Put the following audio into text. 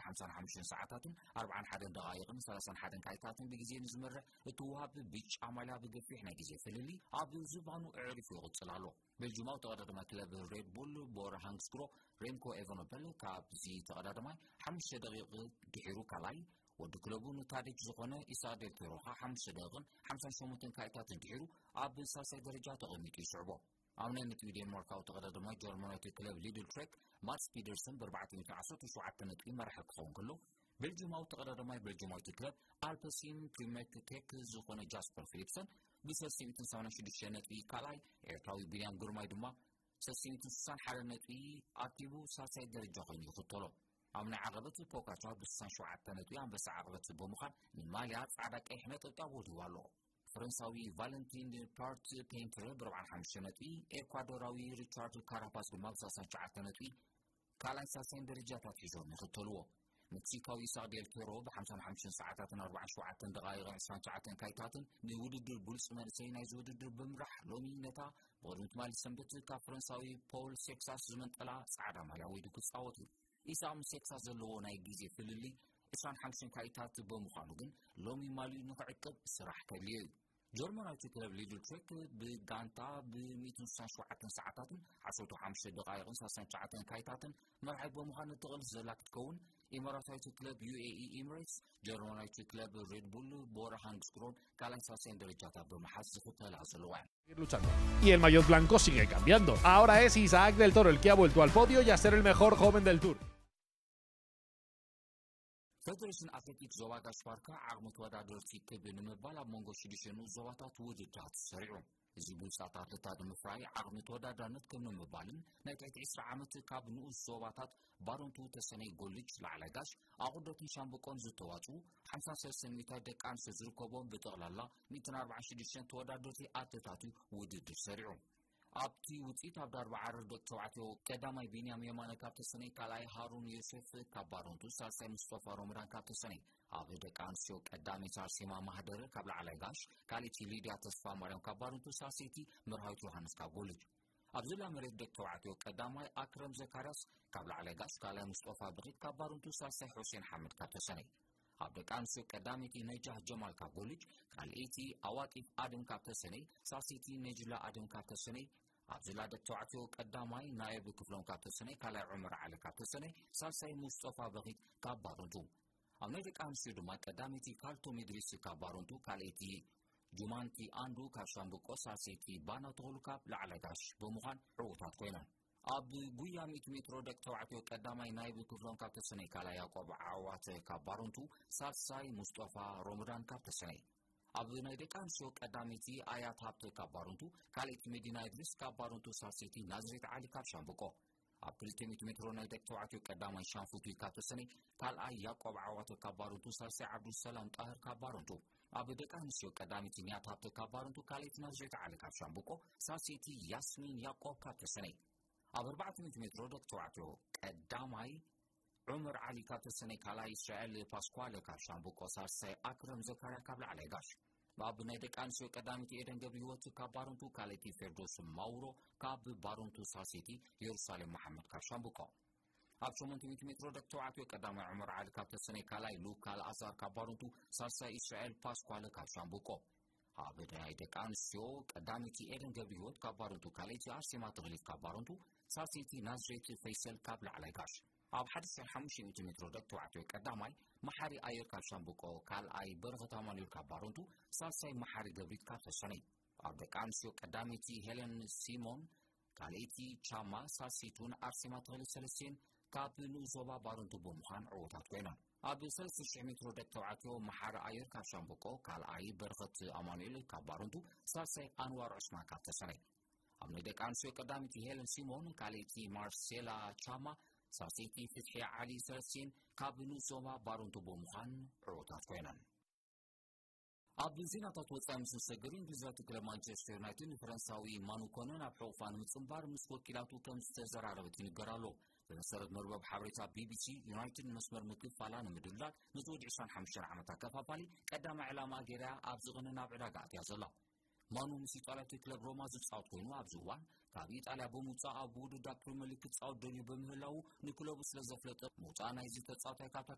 ሓምሳን ሓሙሽተን ሰዓታትን ኣርባዓን ሓደን ደቓይቕን ሰላሳን ሓደን ካይታትን ብግዜ ንዝመርሕ እቲ ውሃቢ ብጫ ማልያ ብገፊሕ ናይ ግዜ ፍልልይ ኣብ ዝባኑ ኣዕሪፉ ይቕጽል ኣሎ። ቤልጅማዊ ተቐዳዳማይ ክለብ ሬድ ቡል ቦር ሃንግስግሮ ሬምኮ ኤቨኖፐል ካብዚ ተቐዳዳማይ ሓሙሽተ ደቂቕ ድሒሩ ካልኣይ፣ ወዲ ክለቡ ንታዲች ዝኾነ ኢሳቅ ዴል ፔሮ ኸኣ ሓሙሽተ ደቂቕን ሓምሳን ሸሞንተን ካይታትን ድሒሩ ኣብ ሳልሳይ ደረጃ ተቐሚጡ ይስዕቦ። ኣብ ናይ ነጥቢ ዴንማርካዊ ተቐዳዳማይ ጀርመናዊት ክለብ ሊድል ትሬክ ማትስ ፒደርሰን ብኣርባዕተ ሚእቲ ዓሰርተ ሸውዓተ ነጥቢ መራሒ ክኸውን ከሎ፣ ቤልጅማዊ ተቐዳዳማይ ቤልጅማዊት ክለብ ኣልፐሲን ፕሪሜክ ቴክ ዝኾነ ጃስፐር ፊሊፕሰን ብሰለስተ ሚእትን ሰማንያን ሽዱሽተ ነጥቢ ካልኣይ፣ ኤርትራዊ ቢንያም ግርማይ ድማ ሰለስተ ሚእትን ስሳን ሓደ ነጥቢ ኣኪቡ ሳልሳይ ደረጃ ኮይኑ ይኽተሎ። ኣብ ናይ ዓቐበት ፖካቻ ብስሳን ሸውዓተ ነጥቢ ኣንበሳ ዓቐበት ብምዃን ንማልያ ጻዕዳ ቀይሕ ነጠብጣብ ወዲቡ ኣሎ። ፈረንሳዊ ቫለንቲን ፓርት ፔንትረ ብኣርባዓን ሓሙሽተ ነጥቢ፣ ኤኳዶራዊ ሪቻርድ ካራፓስ ድማ ብሰላሳን ትሽዓተ ነጥቢ ካልኣይን ሳልሳይን ደረጃታት ሒዞም ይኽተልዎ። ሜክሲካዊ ኢሳቅ ዴል ፔሮ ብሓምሳን ሓሙሽተን ሰዓታትን ኣርባዓን ሸውዓተን ደቓይቕን ዕስራን ትሽዓተን ካይታትን ንውድድር ብሉጽ መንእሰይ ናይዚ ውድድር ብምራሕ ሎሚ ነታ ብቕድሚ ትማሊ ሰንበት ካብ ፈረንሳዊ ፖል ሴክሳስ ዝመንጠላ ጻዕዳ ማልያ ወይዱ ክጻወት እዩ። ኢሳቅ ምስ ሴክሳስ ዘለዎ ናይ ግዜ ፍልልይ ዕስራን ሓሙሽተን ካይታት ብምዃኑ ግን ሎሚ ማልዩ ንኽዕቅብ ስራሕ ከድልዮ እዩ። ጀርመናዊት ክለብ ሊድል ትሬክ ብጋንታ ብ ሚእትን ስሳን ሸውዓተን ሰዓታትን ዓሰርተ ሓሙሽተ ደቓይቕን ሰላሳን ትሽዓተን ካይታትን መርሓይ ብምዃን እትቕልስ ዘላ ክትከውን፣ ኢማራታዊት ክለብ ዩ ኤ ኢ ኢሚሬትስ ጀርመናዊት ክለብ ሬድ ቡል ቦር ሃንግስግሮን ካልኣይን ሳልሳይን ደረጃታት ብምሓዝ ዝኽተላ ዘለዋ እየን። Luchando. Y el maillot blanco sigue cambiando. Ahora es Isaac del Toro el que ha vuelto al podio y a ser el mejor joven del tour. ፌደሬሽን ኣትሌቲክስ ዞባ ጋሽ ባርካ ዓቕሚ ተወዳደርቲ ክብ ንምባል ኣብ መንጎ ሽዱሽተ ንኡስ ዞባታት ውድድራት ሰሪዑ። እዚ ብሉጻት ኣትሌታት ንምፍራይ ዓቕሚ ተወዳዳርነት ክብ ንምባልን ናይ ትሕቲ ዕስራ ዓመት ካብ ንኡስ ዞባታት ባረንቱ፣ ተሰነይ፣ ጎልጅ፣ ላዕላይ ጋሽ፣ ኣቑርደትን ሻምብቆን ዝተዋጽኡ ሓምሳን ሰለስተን ሚእታዊት ደቂ ኣንስትዮ ዝርከቦም ብጠቕላላ ሚእትን ኣርባዓን ሽዱሽተን ተወዳደርቲ ኣትሌታት እዩ ውድድር ሰሪዑ። ኣብቲ ውጽኢት ኣብ ዳርባ ዓረር ደቂ ተባዕትዮ ቀዳማይ ቢንያም የማነ ካብ ተሰነይ፣ ካልኣይ ሃሩን ዮሴፍ ካብ ባረንቱ፣ ሳልሳይ ሙስጠፋ ሮመዳን ካብ ተሰነይ፣ ኣብ ደቂ ኣንስትዮ ቀዳመይቲ ኣርሴማ ማህደረ ካብ ላዕላይ ጋሽ፣ ካልኣይቲ ሊድያ ተስፋ ማርያም ካብ ባረንቱ፣ ሳልሰይቲ መርሃዊት ዮሃንስ ካብ ጎልጅ። ኣብ ዝላ መሬት ደቂ ተባዕትዮ ቀዳማይ ኣክረም ዘካርያስ ካብ ላዕላይ ጋሽ፣ ካልኣይ ሙስጠፋ ብኺት ካብ ባረንቱ፣ ሳልሳይ ሑሴን ሓመድ ካብ ተሰነይ። ኣብ ደቂ ኣንስትዮ ቀዳመይቲ ነጃህ ጀማል ካብ ጎልጅ፣ ካልኣይቲ ኣዋጢፍ ኣደም ካብ ተሰነይ፣ ሳልሰይቲ ነጅላ ኣደም ካብ ተሰነይ። ኣብ ዝላ ደቂ ተባዕትዮ ቀዳማይ ናየብ ክፍሎም ካብ ተሰነይ፣ ካልኣይ ዑመር ዓሊ ካብ ተሰነይ፣ ሳልሳይ ሙስጠፋ በኺት ካብ ባረንቱ። ኣብ ናይ ደቂ ኣንስትዮ ድማ ቀዳመይቲ ካልቶም ኢድሪስ ካብ ባረንቱ፣ ካልኣይቲ ጁማንቲ ኣንዱ ካብ ሻምብቆ፣ ሳልሰይቲ ባና ተኽሉ ካብ ላዕላይ ጋሽ ብምዃን ዕዉታት ኮይነን። ኣብ ጉያ ሚእቲ ሜትሮ ደቂ ተባዕትዮ ቀዳማይ ናይብ ክፍሎም ካብ ተሰነይ፣ ካልኣይ ያዕቆብ ዓዋተ ካብ ባረንቱ፣ ሳልሳይ ሙስጠፋ ሮመዳን ካብ ተሰነይ። ኣብ ናይ ደቂ ኣንስትዮ ቀዳመይቲ ኣያት ሃብተ ካብ ባረንቱ፣ ካልኣይቲ መዲና ኢድሪስ ካብ ባረንቱ፣ ሳልሰይቲ ናዝሬት ዓሊ ካብ ሻምብቆ። ኣብ ክልተ ሚእቲ ሜትሮ ናይ ደቂ ተባዕትዮ ቀዳማይ ሻንፉቲ ካብ ተሰነይ፣ ካልኣይ ያዕቆብ ዓዋተ ካብ ባረንቱ፣ ሳልሳይ ዓብዱሰላም ጣህር ካብ ባረንቱ። ኣብ ደቂ ኣንስትዮ ቀዳመይቲ ንያት ሃብተ ካብ ባረንቱ፣ ካልኣይቲ ናዝሬት ዓሊ ካብ ሻምብቆ፣ ሳልሰይቲ ያስሚን ያዕቆብ ካብ ተሰነይ። ኣብ ኣርባዕተ ሚእቲ ሜትሮ ደቂ ተባዕትዮ ቀዳማይ ዑመር ዓሊ ካብ ተሰነይ፣ ካልኣይ እስራኤል ፓስኳለ ካብ ሻምብቆ፣ ሳልሳይ ኣክረም ዘካርያ ካብ ላዕላይ ጋሽ። ኣብ ናይ ደቂ ኣንስትዮ ቀዳመይቲ ኤደን ገብረ ህይወት ካብ ባረንቱ፣ ካልኣይቲ ፌርዶስ ማውሮ ካብ ባረንቱ፣ ሳልሰይቲ የሩሳሌም መሓመድ ካብ ሻምብቆ። ኣብ ሸሞንተ ሚእቲ ሜትሮ ደቂ ተባዕትዮ ቀዳማይ ዑመር ዓሊ ካብ ተሰነይ፣ ካልኣይ ሉካ ኣልኣዛር ካብ ባረንቱ፣ ሳልሳይ እስራኤል ፓስኳለ ካብ ሻምብቆ። ኣብ ናይ ደቂ ኣንስትዮ ቀዳመይቲ ኤደን ገብረ ህይወት ካብ ባረንቱ፣ ካልኣይቲ ኣርሴማ ተኽሊት ካብ ባረንቱ፣ ሳልሰይቲ ናዝሬት ፈይሰል ካብ ላዕላይ ጋሽ። ኣብ ሓደ ሺሕ ሓሙሽተ ሚእቲ ሜትሮ ደቂ ተባዕትዮ ቀዳማይ መሓሪ ኣየር ካብ ሻምብቆ፣ ካልኣይ በረኸት ኣማኑኤል ካብ ባረንቱ፣ ሳልሳይ መሓሪ ገብሪት ካብ ተሰነይ። ኣብ ደቂ ኣንስትዮ ቀዳመይቲ ሄለን ሲሞን፣ ካልኣይቲ ቻማ፣ ሳልሰይቲ እውን ኣርሴማ ተኽለ ሰለስቴን ካብ ንኡስ ዞባ ባረንቱ ብምዃን ዕዉታት ኮይነን። ኣብ ሰለስተ ሽሕ ሜትሮ ደቂ ተባዕትዮ መሓሪ ኣየር ካብ ሻምብቆ፣ ካልኣይ በረኸት ኣማኑኤል ካብ ባረንቱ፣ ሳልሳይ ኣንዋር ዑስማን ካብ ተሰነይ። ኣብ ናይ ደቂ ኣንስትዮ ቀዳመይቲ ሄለን ሲሞን፣ ካልኣይቲ ማርሴላ ቻማ፣ ሳልሰይቲ ፍትሒ ዓሊ ሰለስቴን ካብ ንኡስ ዞባ ባረንቱ ብምዃን ዕዉታት ኮይነን። ኣብ ዜናታት ወጻኢ ምስ ንሰግር፣ እንግሊዛዊት ክለብ ማንቸስተር ዩናይትድ ንፈረንሳዊ ማኑ ኮነ ናብ ሕቑፋ ንምጽንባር ምስ ወኪላቱ ከም ዝተዘራረበት ይንገር ኣሎ። ብመሰረት መርበብ ሓበሬታ ቢ ቢ ሲ፣ ዩናይትድ ንመስመር ምክፋላ ንምድልዳል ነቲ ወዲ ዕስራን ሓሙሽተን ዓመት ኣከፋፋሊ ቀዳማይ ዕላማ ገይራ ኣብዚ ቅነ ናብ ዕዳጋ ኣትያ ዘላ። ማኑ ምስ ኢጣልያዊት ክለብ ሮማ ዝጻወት ኮይኑ፣ ኣብዚ እዋን ካብ ኢጣልያ ብምውጻእ ኣብ ውድድር ፕሪምየር ሊግ ክጻወት ደልዩ ብምህላዉ፣ ንክለቡ ስለ ዘፍለጠ፣ ምውጻእ ናይዚ ተጻዋታይ ካብታ